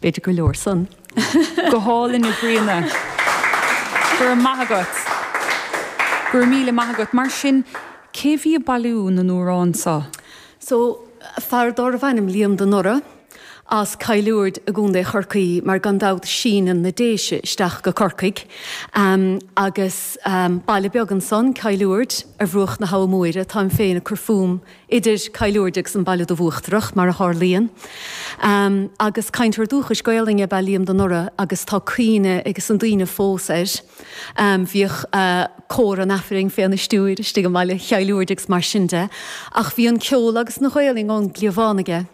B'fhéidir gur leor san. Go hálainn a Thríona. Go raibh maith agat. Go raibh míle maith agat. Mar sin, cé bhí ag bailiú na n-amhrán seo? So, fear dárbh ainm Liam de Noraidh, as Cill Uird i gContae Chorcaí, mar gan dabht síneann na Déise isteach go Corcaigh, agus baile beag ansan, Cill Uird, ar bhruach na hAbha Móire, táim féin ag cur fúm idir Cill Uird agus an Baile Dubh Uachtarach, mar a tharlaíonn. Agus cainteoir dúchais Gaolainne ab ea Liam de Noraidh agus tá cuimhne ages na daoine fós air. Bhíodh cór an Aifrinn féna stiúir istigh i mbaile Chill Uird agus mar sin de. Ach bhí an ceol agus an Ghaolainn ón gcliabhán aige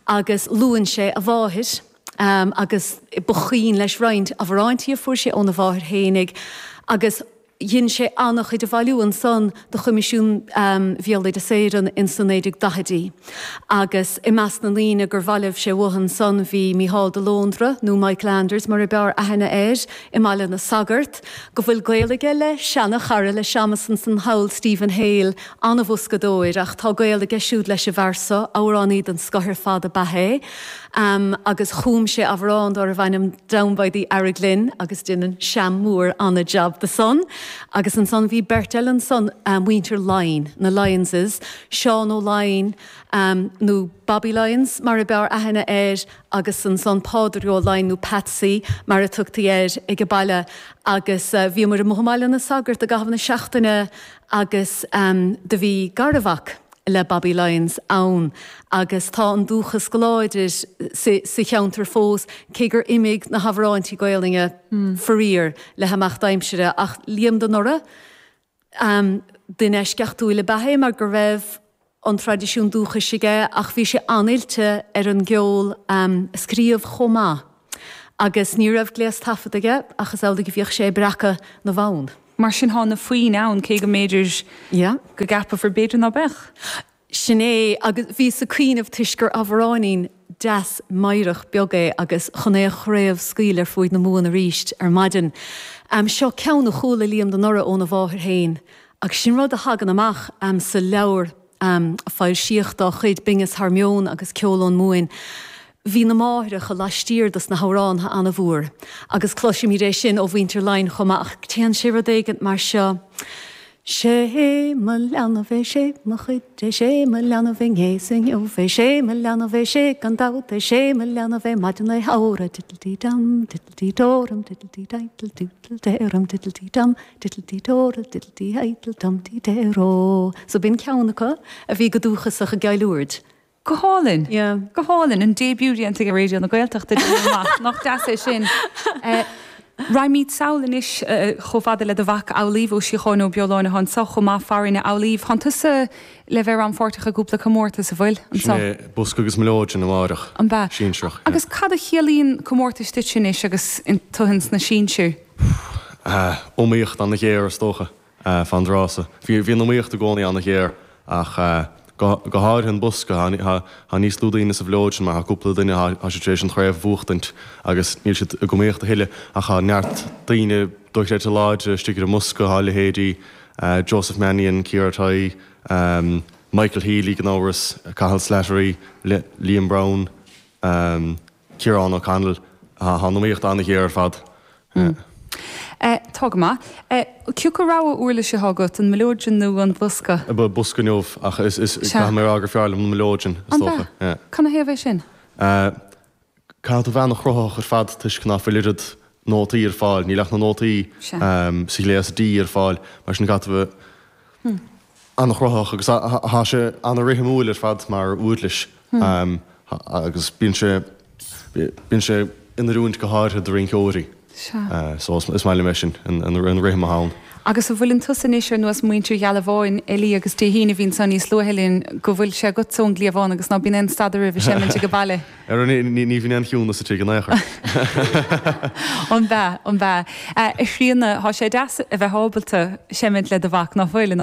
agus luann sé a mháthair agus ba chuimhin leis roinnt amhráintí a fuair sé óna mháthair fhéinig agus Dhein sé an-chuid a bhailiú ansan do Choimisiún Bhéaloideas Éireann in sna 1940idí agus i measc na ndaoine gur bhailigh sé uathu ansan bhí Mícheál de Lóndra, nó Mike Landers mar a b'fhearr aithne air, i mBaile na Sagart, go bhfuil gaol aige le seana-chara le Séamus ansan thall, Stephen Hale, an-bhoscadóir ach tá gaol aige siúd leis an bhfear so, amhránaí den scoth ar fad ab ea é. Agus chum sé amhrán dárbh ainm Down by the Araglin agus deineann Sam Mór ana-jab de san. Agus ansan bhí beirt eile ansan, muintir Laighin, na Lyonses, Seán Ó Laighin, nó Bobby Lyons mar a b'fhearr aithne air agus ansan Pádraig Ó Laighin nó Patsy mar a tugtaí air ag an baile. Agus bhíomar amuigh i mBaile na Sagart i gcaitheamh na seachtaine agus do bhí garmhac le Bobby Lyons ann agus tá an dúchas go láidir sa cheantar fós cé gur imigh na hamhráintí Gaolainne faraor le himeacht aimsire ach Liam de Noraidh, duine eisceachtúil ab ea é mar go raibh an traidisiún dúchais aige ach bhí sé an-oilte ar an gceol a scríobh chomh maith agus ní raibh gléas taifead aige ach is amhlaidh a bhíodh sé ag breacadh na bhfonn. Mar sin thá na foinn ann, cé go mb'fhéidir go gceapfar b'fhéidir ná beadh. Sin é, agus bhíos ag cuimhneamh toisc gur amhráinín deas meidhreach beag é agus chun é a chraobhscaoileadh ar fuaid na Mumhan arís ar maidin. Seo ceann a chuala Liam de Noraidh óna mháthair féin agus sin rud a thagann amach sa leabhar a foilsíodh dá chuid, Bingeas Thar Meon agus Ceol ón Mumhain. Bhí na máithreacha laistiar dos na hamhrántha ana-mhór agus cloisimid é sin ó mhuintir Laighin chomh maith ach téann sé rud éigint mar seo, Sé mo leanbh é, sé mo chuid é, sé mo leanbh inné 's inniu é, sé mo leanbh é, sé gan dabht é, sé mo leanbh é maidin lae shamhraidh, diddle-dee-dum, diddle-dee-dóram, diddle-dee-diddle-doodle-dee-ram, diddle-dee-dum, diddle-dee-dóral, diddle-dee-idle-dum-dee-dee-ró. So b'in ceann acu a bhí go dúchasach i gCill Uird. Go hálainn. Yeah. Go hálainn. An début déanta ag Raidió na Gaeltachta déanamh amach. Nach deas é sin. Raghaimid sall anois chomh fada le do mhac Amhlaoibh Ó Síocháin Ó Beoláin atá anseo chomh maith farainn. A Amhlaoibh, thánn tusa le bheith rannpháirteach i gcúpla comórtas, an bhfuil? Anseo. Sin é, Bosca agus Mileoidean amáireach. An b'ea? Sinsearach, yeah. Agus cad a chiallaíonn comórtais duitse anois agus tú ins na sinsir? Iomaíocht ana-ghéar is dócha. Fán dtráth so. Bhí an iomaíocht i gcónaí an-ghéar ach go háirithe an bosca, tá níos lú daoine sa mhileoidean mar tá cúpla duine, tá siad tar éis an chraobh a bhuachtaint agus níl siad ag iomaíocht a thuilleadh ach tá neart daoine dochreidte láidre istigh ar an mbosca, tá leithéidí Joseph Mannion, Ciara Tighe, Michael Healy gan amhras, Cathal Slattery, Liam Browne, Ciarán O'Connell, tá an iomaíocht an-ghéar ar fad. Tá go maith. Cé acu rogha uirlise atá agat, an mileoidean nó an bosca? Bosca inniu, ach caithfidh mé a rá gur fearr liom an mileoidean, is dócha. An ea? Canathaobh é sin? Caithfidh tú bheith an-chruthaitheach ar fad toisc ná fuil oiread nótaí ar fáil, níl ach na nótaí sa ghléas D ar fáil, mar sin caithfidh tú bheith an-chruthaitheach agus tá sé an-rithimiúil ar fad mar uirlis agus bíonn sé bíonn sé in oiriúint go háirithe do rinceoirí. So is maith liom é sin, an rithim atá ann. Agus an bhfuileann tusa anois ar nós muintir Ghealbháin, Ellie agus Dé hAoine a bhí anso níos luaithe linn, go bhfuil sé agatsa ón gcliabhán agus ná bíonn aon stad oraibh ag seimint ag baile? Ara ní bhíonn aon chiúnas sa tigh in aon chor. An b'ea, an b'ea. A Thríona, tá sé deas a bheith ábalta seimint le do mhac, ná fuil?